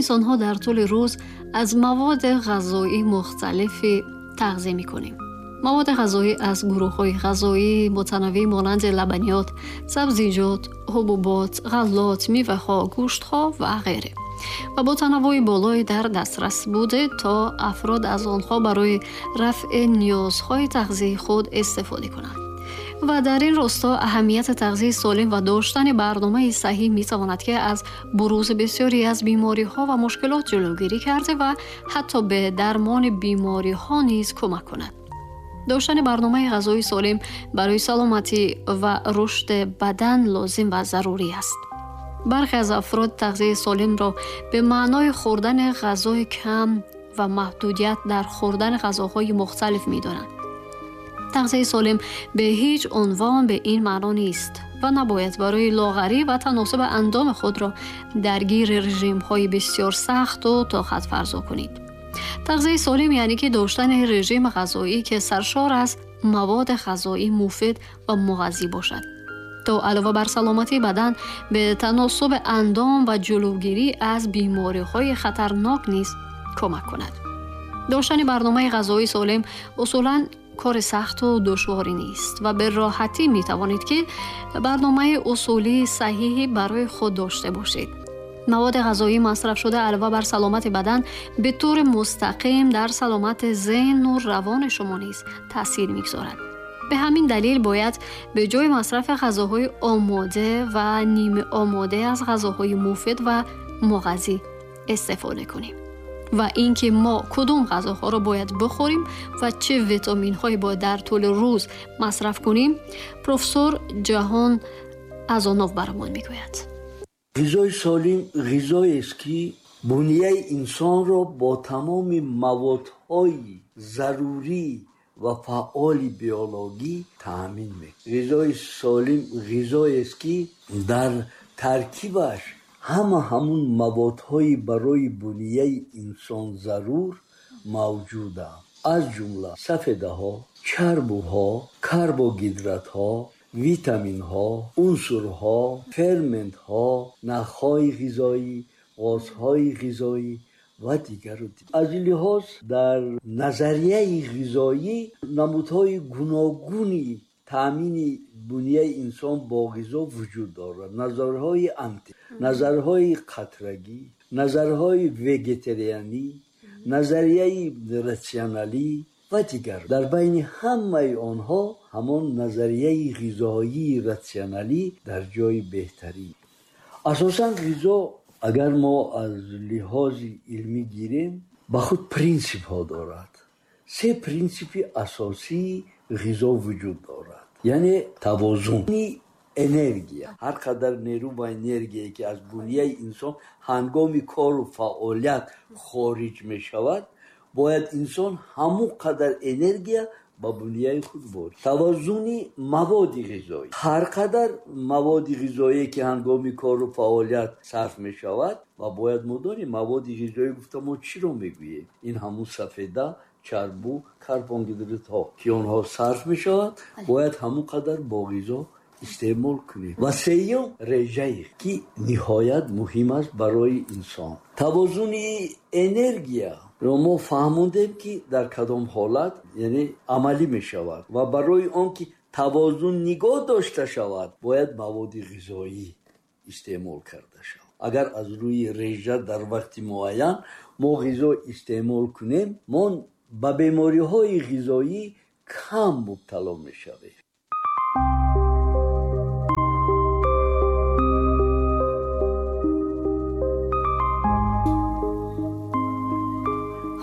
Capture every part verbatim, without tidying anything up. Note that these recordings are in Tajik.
инсонҳо дар тӯли рӯз аз маводи ғизоии мухталифи тағзия мекунем. Маводи ғизоӣ аз гурӯҳҳои ғизоии мутанаввеъ монанди лабаниёт, сабзиҷот, ҳубубот, ғаллот, меваҳо, гӯштҳо ва ғайре ва бо танаввӯи болое дар дастрас буда то афрод аз онҳо барои рафъи ниёзҳои тағзияи худ истифода кунанд. Ва дар ин росто аҳамияти тағзияи солим ва доштани барномаи саҳеҳ метавонад ки аз бурузи бисёре аз бемориҳо ва мушкилот ҷилавгирӣ карда ва ҳатто ба дармони бемориҳо низ кӯмак кунад. Доштани барномаи ғизоии солим барои саломатӣ ва рушди бадан лозим ва зарурӣ аст. Бархе аз афрод тағзияи солимро ба маънои хӯрдани ғизои кам ва маҳдудият дар хӯрдани ғизоҳои мухталиф медонанд. Тағзияи солим ба ҳеҷ унвон ба ин маъно нест ва набояд барои лоғарӣ ва таносуби андоми худро даргири режимҳои бисёр сахту тоқатфарзо кунед. Тағзияи солим яъне ки доштани режими ғизоӣ ки саршор аз маводи ғизоии муфид ва муғаззӣ бошад то алова бар саломатии бадан ба таносуби андом ва ҷилавгирӣ аз бемориҳои хатарнок низ кӯмак кунад. Доштани барномаи ғизоии солим усулан кори сахту душворӣ нест ва ба роҳатӣ метавонед ки барномаи усулии саҳеҳе барои худ дошта бошед. Маводи ғизоии масрафшуда алова бар саломати бадан ба таври мустақим дар саломати зеҳну равони шумо низ таъсир мегузорад. Ба ҳамин далел бояд ба ҷои масрафи ғизоҳои омода ва нимаомода аз ғизоҳои муфид ва муғаззӣ истифода кунем. Ва инки мо кадом ғизоҳоро бояд бихӯрем ва чӣ витаминҳое бояд дар тӯли рӯз масраф кунем, профессор Ҷаҳон Азонов барамон мегӯяд. Ғизои солим ғизоест ки бунияи инсонро бо тамоми маводҳои зарурӣ ва фаъоли биологӣ таъмин мекунад. Ғизои солим ғизоест ки дар таркибаш ҳама ҳамун маводҳои барои бунияи инсон зарур мавҷуданд, аз ҷумла сафедаҳо, чарбуҳо, карбогидратҳо, витаминҳо, унсурҳо, ферментҳо, нахҳои ғизоӣ, ғозҳои ғизоӣ ва дигару дигар. Аз ин лиҳоз дар назарияи ғизоӣ намудҳои гуногуни таъмини бунияи инсон бо ғизо вуҷуд дорад. Назарҳои анти, назарҳои қатрагӣ, назарҳои вегетарианӣ, назарияи ратсионалӣ ва дигар. Дар байни ҳамаи онҳо ҳамон назарияи ғизоии ратсионалӣ дар ҷои беҳтарин. Асосан ғизо агар мо аз лиҳози илмӣ гирем, ба худ принсипҳо дорад. Се принсипи асосии ғизо вуҷуд дорад, яъне тавозуни энергия. Ҳар қадар нерӯ ва энергияе ки аз бунияи инсон ҳангоми кору фаъолият хориҷ мешавад, бояд инсон ҳамон қадар энергия ба бунияи худ ворид. Тавозуни маводи ғизоӣ. Ҳар қадар маводи ғизоие ки ҳангоми кору фаъолият сарф мешавад, ва бояд мо донем маводи ғизоӣ гуфта мо чиро мегӯем? Ин ҳамун сафеда, чарбу, карбогидратҳо ки онҳо сарф мешавад, бояд ҳамон қадар бо ғизо истеъмол кунем. Ва сеюм режае ки ниҳоят муҳим аст барои инсон. Тавозуни энергия ро мо фаҳмондем ки дар кадом ҳолат яъне амалӣ мешавад ва барои он ки тавозун нигоҳ дошта шавад, бояд маводи ғизоӣ истеъмол карда шавад. Агар аз рӯи режа дар вақти муайян мо ғизо истеъмол кунем, мо ба бемориҳои ғизоӣ кам мубтало мешавем.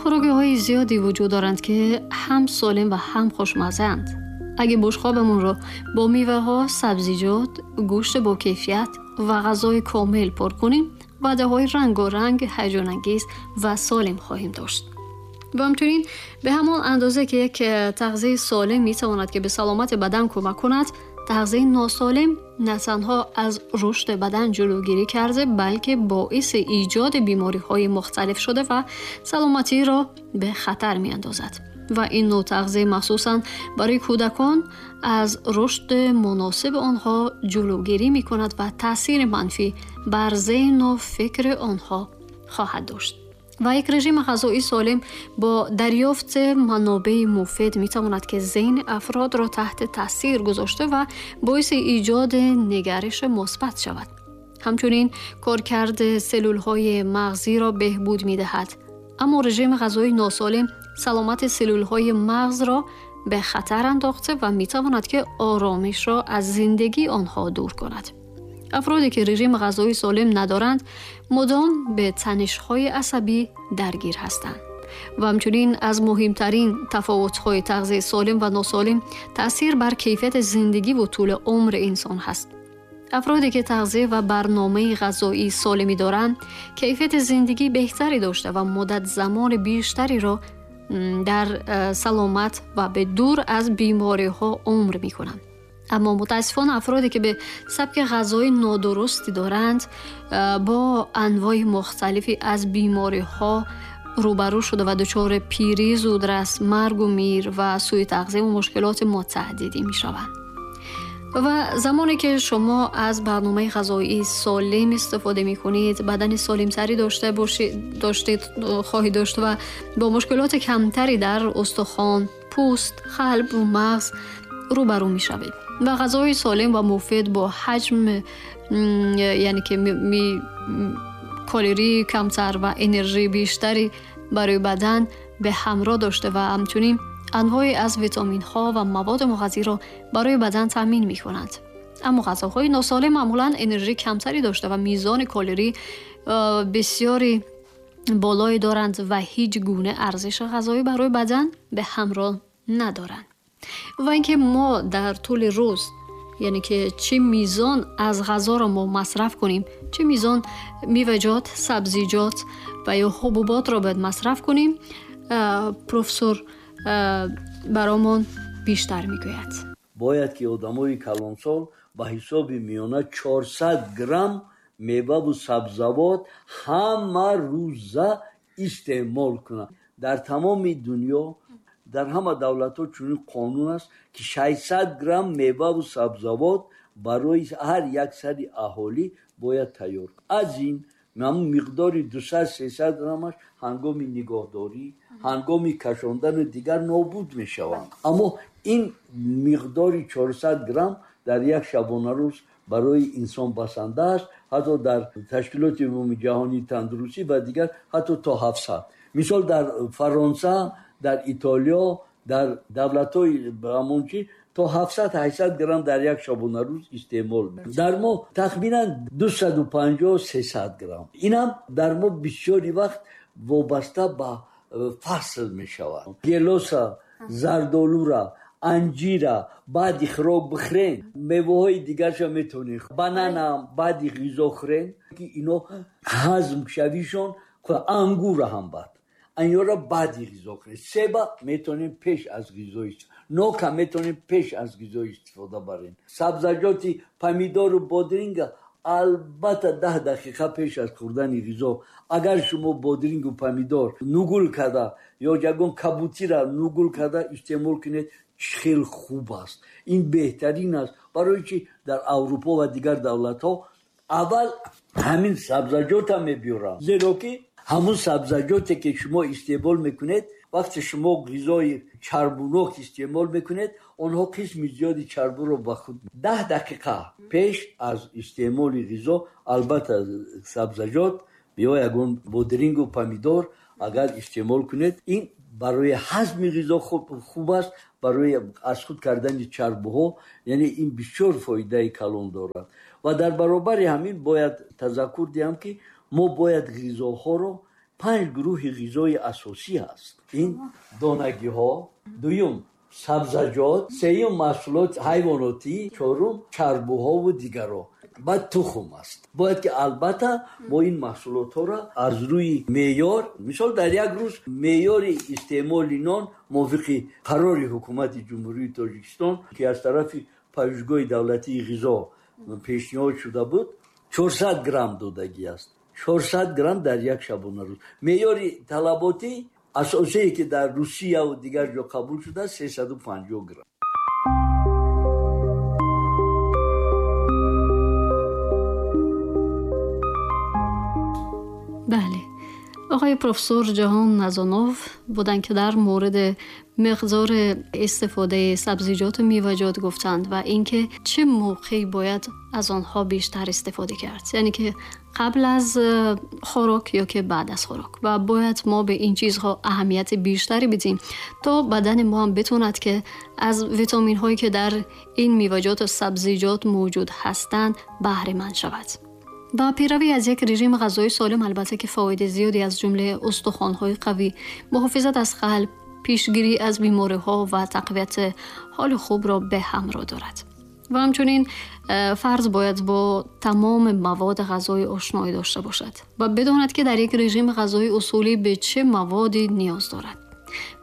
Хӯрокиҳои зиёде вуҷуд доранд ки ҳам солим ва ҳам хушмазаанд. Агар бушқобамонро бо меваҳо, сабзиҷот, гӯшт бо кайфият ва ғизои комил пур кунем, ваъдаҳои рангоранг, ҳаяҷонангез ва солим хоҳем дошт. Ва ҳамчунин ба ҳамон андоза ки як тағзияи солим метавонад ки ба саломати бадан кӯмак кунад, тағзияи носолим на танҳо аз рушди бадан ҷилавгирӣ карда, балки боиси эҷоди бемориҳои мухталиф шуда ва саломатиро ба хатар меандозад. Ва ин нӯъ тағзия махсусан барои кӯдакон аз рушди муносиби онҳо ҷилавгирӣ мекунад ва таъсири манфӣ бар зеҳну фикри онҳо خواهد داشت. و یک رژیم غذایی سالم با دریافت منابع مفید میتواند که ذهن افراد را تحت تاثیر گذاشته و باعث ایجاد نگرش مثبت شود. همچنین کارکرد سلول‌های مغزی را بهبود می‌دهد. اما رژیم غذایی ناسالم سلامت سلول‌های مغز را به خطر انداخته و می‌تواند که آرامش را از زندگی آنها دور کند. افرادی که رژیم غذایی سالم ندارند مدام به تنش‌های عصبی درگیر هستند. و همچنین از مهمترین تفاوت‌های تغذیه سالم و ناسالم تأثیر بر کیفیت زندگی و طول عمر انسان هست. افرادی که تغذیه و برنامه غذایی سالمی دارند کیفیت زندگی بهتری داشته و مدت زمان بیشتری را در سلامت و به دور از بیماری‌ها عمر می‌کنند. اما متاسفانه افرادی که به سبک غذای نادرستی دارند با انواع مختلفی از بیماری‌ها روبرو شده و دچار پیری زودرس، مرگ و میر و سوء تغذیه و مشکلات متعددی می‌شوند. و زمانی که شما از برنامه غذایی سالم استفاده می‌کنید، بدن سالم‌تری داشته باشید، داشتید خواهید داشت و با مشکلات کمتری در استخوان، پوست، قلب و مغز روبرو می‌شوید. و غذای سالم و مفید با حجم یعنی که می, می کالری کمتر و انرژی بیشتری برای بدن به همراه داشته و همچنین انواعی از ویتامین ها و مواد مغذی را برای بدن تامین می کنند. اما غذاهای ناسالم معمولاً انرژی کمتری داشته و میزان کالری بسیاری بالایی دارند و هیچ گونه ارزش غذایی برای بدن به همراه ندارند. و اینکه ما در طول روز یعنی که چه میزان از غذا را ما مصرف کنیم، چه میزان میوه‌جات، سبزیجات و یا حبوبات را باید مصرف کنیم، پروفسور برامون بیشتر میگوید. باید که آدمای کلانسال به حساب میانه چهارصد گرم میوه و سبزیجات همه روزه استعمال کنند. در تمام دنیا در همه دولت‌ها چنین قانون است که ششصد گرم میوه و سبزیجات برای هر یک سر اهالی باید تیار. از این مقدار دویست سیصد گرمش هنگام نگاهداری، هنگام کشاندن دیگر نابود میشوند. اما این مقدار چهارصد گرم در یک شبانه روز برای انسان بسنده است. حتی در تشکیلات عمومی جهانی تندرستی و دیگر حتی تا هفتصد. مثال در فرانسه، در ایتالیا، در دولت‌های همون تا هفتصد هشتصد گرم در یک شبانه روز استعمال می‌کنند. در ما تخمینا دویست و پنجاه سیصد گرم. اینم در ما بسیاری وقت وابسته به فصل می‌شود. گلوسا، زردآلو، انجیرا بعد خوراک بخورین، میوه‌های دیگرش هم میتونین، بنانا بعد غذا خورین که اینا هضم شویشون، انگور هم بعد اینا را بعد غذا خورین. سیب میتونین پیش از غذا استفاده، نوک میتونین پیش از غذا استفاده برین. سبزیجات پمیدور و بادرنگ البته ده دقیقه پیش از خوردن غذا. اگر شما بادرنگ و پمیدور نگول کرده یا یگان کبوتی را نگول کرده استعمال کنید، خیلی خوب است. این بهترین است. برای چی در اروپا و دیگر دولت ها اول همین سبزیجات هم میبیارن، زیرا که همون سبزیجاتی که شما استعمال میکنید وقتی شما غذای چربوناک استعمال میکنید، آنها قسم زیادی چربو رو به خود. ده دقیقه پیش از استعمال غذا البته سبزیجات یا یگان بادرنگ و پمیدور اگر استعمال کنید، این برای هضم غذا خوب, خوب است، برای از خود کردن چربوها، یعنی این بسیار فایده کلان دارد. و در برابر همین باید تذکر دهم که ما باید غذاها رو پنج گروه غذای اساسی هست. این دانگی ها، دوم سبزیجات، سوم محصولات حیواناتی، چهارم چربوها و دیگرها، بعد تخم است. باید که البته ما این محصولات ها را از روی معیار، مثال در یک روز معیار استعمال نان موافق قرار حکومت جمهوری تاجیکستان که از طرف پژوهشگاه دولتی غذا پیشنهاد شده بود، چهارصد گرم دادگی است. چهارصد گرم در یک شبانه روز. معیار طلباتی اساسی که در روسیه و دیگر جا قبول شده سیصد و پنجاه گرم. بله، آقای پروفسور جهان نزانوف بودند که در مورد مقدار استفاده سبزیجات و میوه‌جات گفتند و اینکه چه موقعی باید از آنها بیشتر استفاده کرد، یعنی که قبل از خوراک یا که بعد از خوراک، و باید ما به این چیزها اهمیت بیشتری بدیم تا بدن ما هم بتوند که از ویتامین هایی که در این میوه‌جات و سبزیجات موجود هستند بهره مند شود. و پیروی از یک رژیم غذایی سالم البته که فواید زیادی از جمله استخوان‌های قوی، محافظت از قلب، پیشگیری از بیماری‌ها و تقویت حال خوب را به همراه دارد. و همچنین فرد باید با تمام مواد غذایی آشنایی داشته باشد و بداند که در یک رژیم غذایی اصولی به چه موادی نیاز دارد.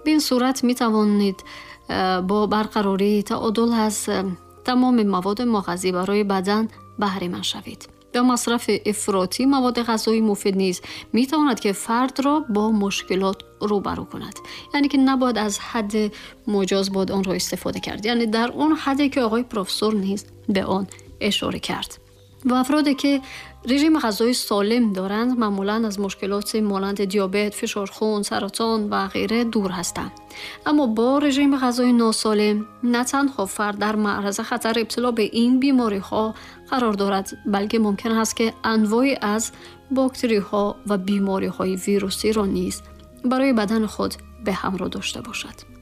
به این صورت می توانید با برقراری تعادل از تمام مواد مغذی برای بدن بهره مند شوید. به مصرف افراطی مواد غذایی مفید نیز می تواند که فرد را با مشکلات روبرو کند، یعنی که نباید از حد مجاز باید آن را استفاده کرد، یعنی در آن حدی که آقای پروفسور نیز به آن اشاره کرد. و افرادی که رژیم غذایی سالم دارند معمولاً از مشکلات مانند دیابت، فشار خون، سرطان و غیره دور هستند. اما با رژیم غذایی ناسالم نه تنها فرد در معرض خطر ابتلا به این بیماری ها قرار دارد، بلکه ممکن است که انواعی از باکتری ها و بیماری های ویروسی را نیز برای بدن خود به همراه داشته باشد.